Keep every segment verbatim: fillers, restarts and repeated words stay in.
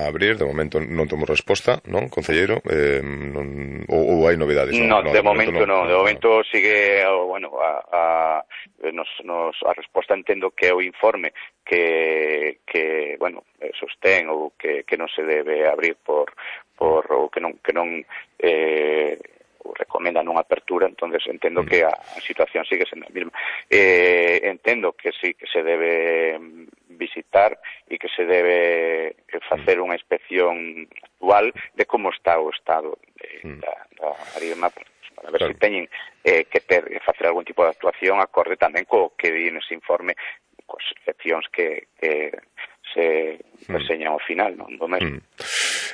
abrir, de momento non temos resposta, non, concelleiro? Eh, non, ou, ou hai novidades? Non, no, de, de momento non, de momento sigue, bueno, a, a, nos, nos, a resposta entendo que é o informe que, que bueno, sostén ou que, que non se debe abrir por, por ou que non, que non eh, recomenda non apertura, entonces entendo que a, a situación sigue sendo a mesma. Eh, entendo que sí, que se debe visitar e que se debe facer unha inspección actual de como está o estado de, mm. da, da Marima, para ver claro. se teñen eh, que ter, facer algún tipo de actuación acorde tamén co que di nese informe, coas excepcións que, que se reseñan ao final, non do mesmo. Mm.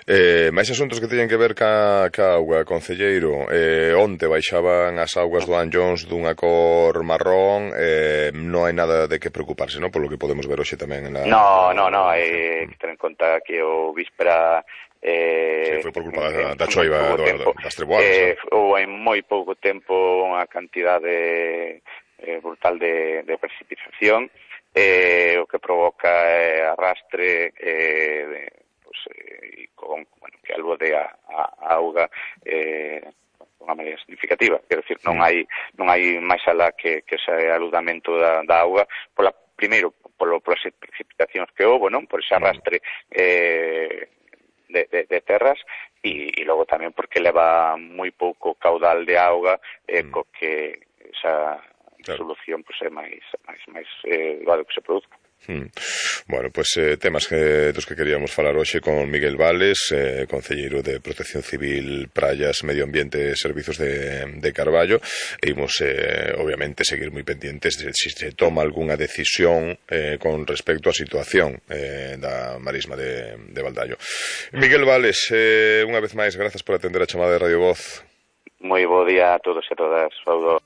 Eh, máis asuntos que teñen que ver ca, ca auga, concelleiro. Eh, onte baixaban as augas do Anllóns dunha cor marrón, eh, non hai nada de que preocuparse, non? Polo que podemos ver hoxe tamén en la... No, no, no, hai que ter en conta que o víspera eh, sí, foi por culpa da, da choiva do, tempo, das treboadas. Eh, ou en moi pouco tempo unha cantidade eh, brutal de, de precipitación, eh, o que provoca eh, arrastre eh, de, pues, eh, con, bueno, que albodea a, a auga eh, de unha maneira significativa. Quero dicir, non hai non hai máis alá que, que ese aludamento da, da auga, pola, primeiro, polo, polas precipitacións que houve, non? Por ese arrastre eh, de, de, de terras, e, e logo tamén porque leva moi pouco caudal de auga, eh, mm. co que esa claro. solución pues, é máis, máis, máis eh, elevado que se produzca. Hmm. Bueno, pois pues, eh, temas que, dos que queríamos falar hoxe con Miguel Vales, eh, concelleiro de Protección Civil, Praias, Medio Ambiente e Servizos de, de Carballo, e imos, eh, obviamente, seguir moi pendientes de se si se toma algunha decisión eh, con respecto á situación eh, da marisma de, de Valdallo. Miguel Vales, eh, unha vez máis, grazas por atender a chamada de Radio Voz. Moi bo día a todos e a todas, saúdo.